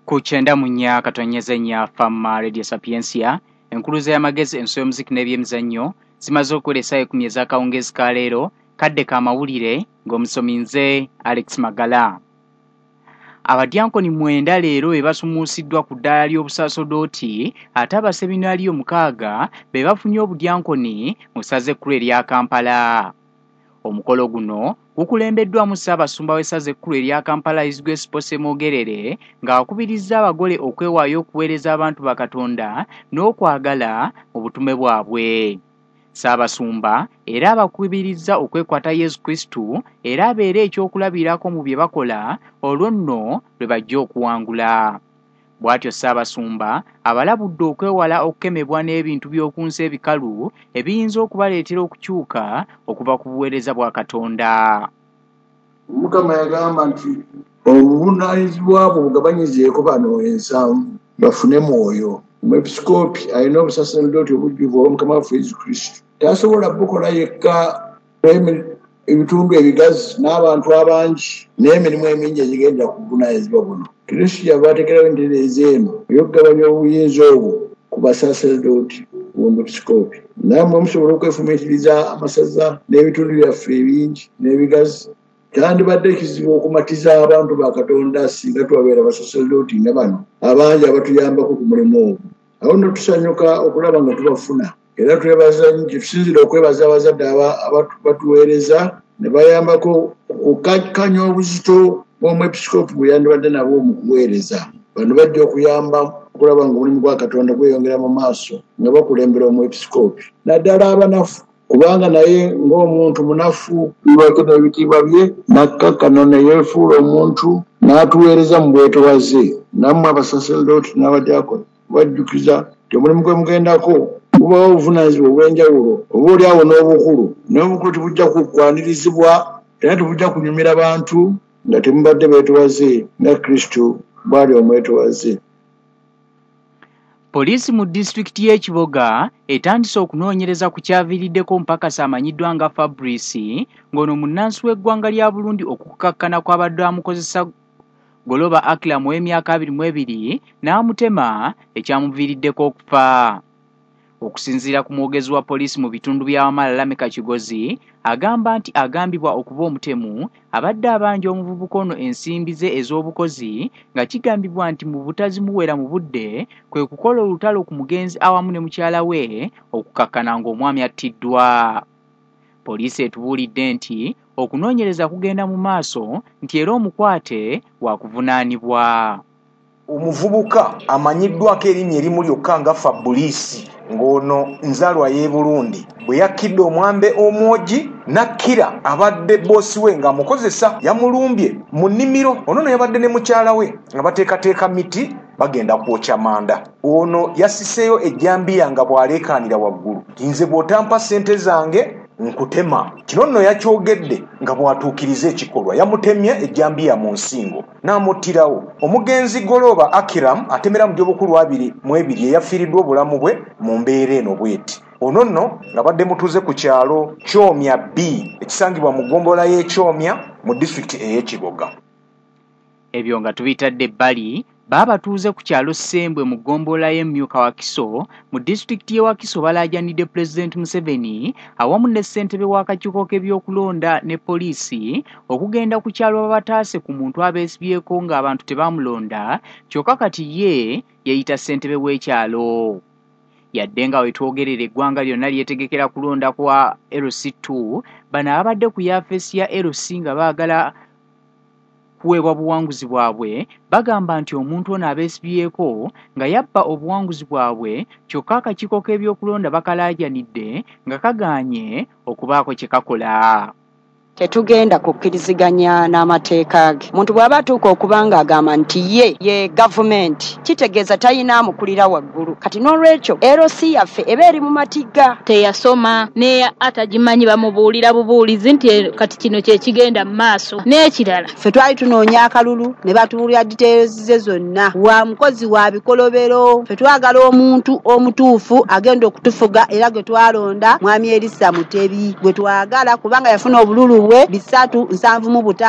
Ku 94.4 Fama Radio Sapientia, enkuluze y'amagezi, enso y'omuziki n'ebyemizannyo zimaze okuwera essaawa 10 ez'akawungeezi ka leero. Kadde ka mawulire ng'omusomi nze Alex Magala. Abadyankoni 9 leero be basumuusiddwa ku ddaala ly'obusaasodooti, ate abaseminaaliyo 6 be bafunye obudyankoni mu ssaza ekkulu erya Kampala. Omukolo guno gukulembeddwamu Ssaabasumba w'essaza ekkulu erya Kampala His Grace Paul Ssemwogerere, ng'akubirizza abagole okwewaayo okuweereza abantu ba Katonda n'okwagala mu butume bwabwe. Ssaabasumba era abakubirizza okwekwata Yesu Kristu era abeere ekyokulabirako mu bye bakola, olwo nno lwe bajja okuwangula. Bw'atyo Ssaabasumba abalabudde okwewala okukemebwa n'ebintu by'oku nsi ebikalu ebiyinza okubaleetera okukyuka okuva ku buweereza bwa Katonda. Omukama yagamba nti obuvunaanyizibwa bwo bugabanyizeeko bano 7 bafune mwoyo. Omwepisikoopi alina obusaserdooti obujjuvu obwa Mukama waffe Yesu Kristo. Tasobola bukola yekka ebitundu ebigazi n'abantu abangi n'emirimu emingi egigenda ku buvunaanyizibwa buno. Kristo yava ateekerawo entereeza eno ey'okugabanya obuyinza obwo ku basaserdooti b'omwepisikoopi. Nammwe musobola okwefumiitiriza amasaza n'ebitundu byaffe ebingi n'ebigazi. Kyandibadde kizibu okumatiza abantu ba Katonda singa twabeera basaserdooti nga bano abangi abatuyambako ku mulimu ogwo. Awo nno tusanyuka okulaba nga tubafuna. Era twebaza nnyo, tusinziira okwebaza abazadde abatuweereza ne bayambako okukakkanya obuzito bw'omwepisikoopi bwe yandibadde nabwo mu kuweereza. Bano bajja okuyamba okulaba ng'omulimu gwa Katonda gweyongera mu maaso nga bakulembera omwepisikoopi, naddala abanafu, kubanga naye ng'omuntu munafu lwaki n'ebitiibwa bye n'akkakkana ne yeefuula omuntu n'atuweereza mu bwetowaze. Nammwe abasaserdooti n'abadiakoni bajjukiza nti omulimu gwe mugendako bubawo obuvunaanyizibwa obw'enjawulo, oba oli awo n'obukulu, naye obukulu tebujja kukwanirizibwa era tebujja kunyumira bantu nga temubadde beetowaze nga Kristo bw'ali omwetowaze. Poliisi mu disitulikiti y'e Kiboga etandise okunoonyereza ku kyaviiriddeko mpakasi amanyiddwa nga Fabrice, ng'ono munnansi w'eggwanga lya Burundi, okukakkana kw'abadde amukozesa Goloba Akram ow'emyaka 22 n'amutema ekyamuviiriddeko okufa. Okusinziira ku mwogezi wa poliisi mu bitundu bya Wamala Lameka Kigozi, agamba nti agambibwa okuba omutemu abadde abanja omuvubuka ono ensimbi ze ez'obukozi, nga kigambibwa nti mu butazimuwera mu budde kwe kukola olutalo ku mugenzi awamu ne mukyala we okukakkana ng'omwami attiddwa. Poliisi etubuulidde nti okunoonyereza kugenda mu maaso nti era omukwate wakuvunaanibwa. Omuvubuka amanyiddwako erinnya erimu lyokka nga Fabrice, ng'ono nzaalwa y'e Burundi, bwe yakkidde omwambe omwogi n'akkira abadde boosi we ng'amukozesa, yamulumbye mu nnimiro. Ono nno yabadde ne mukyala we nga bateekateeka miti bagenda kwokya manda. Ono yasiseeyo ejjambiya nga bw'aleekaanira waggulu nti nze bw'otampa ssente zange nkutema. Kino nno yakyogedde nga bw'atuukiriza ekikolwa, yamutemye ejjambiya mu nsingo n'amuttirawo. Omugenzi Goloba Akiram atemera mu gy'obukulu 22 eyafiiriddwa obulamu bwe mu mbeera eno bw'eti. Ono nno ng'abadde mutuuze ku kyalo Kyomya B ekisangibwa mu ggombolola y'e Kyomya mu disitulikiti ey'e Kiboga. Ebyo nga tubitadde ebbali, baabatuuze ku kyalo Ssembwe mu ggombolola y'e Myuka Wakiso mu disitulikiti y'e Wakiso balaajanidde Pulezidenti Museveni awamu ne ssentebe w'akakiiko k'ebyokulonda ne poliisi okugenda ku kyalo babataase ku muntu abeesibyeko ng'abantu tebamulonda, kyokka kati ye yeeyita ssentebe w'ekyalo. Yadde nga we twogerera eggwanga lyonna lyetegekera kulonda kwa LC2, bano ababadde ku yafeesi ya LC nga baagala kuweebwa buwanguzi bwabwe bagamba nti omuntu ono abeesibyeko nga yabba obuwanguzi bwabwe, kyokka akakiiko k'ebyokulonda bakalaajanidde nga kagaanye okubaako kye kakola. Tetugenda kukkiriziganya n'amateeka ge. Omuntu bw'aba atuuka okuba ng'agamba nti ye gavumenti, kitegeeza talina amukulira waggulu. Kati n'olwekyo LC yaffe eba eri mu matigga. Teyasoma ne atagimanyi bamubuulira bubuulizi nti kati kino kye kigenda mu maaso. N'ekirala ffe twali tunoonya akalulu ne batubuulira details ze zonna. Wa mukozi wa bikolobero, ffe twagala omuntu omutuufu agenda okutufuga era gwe twalonda Mwami Erisa Mutebi gwe twagala kubanga yafuna obululu bwe 375.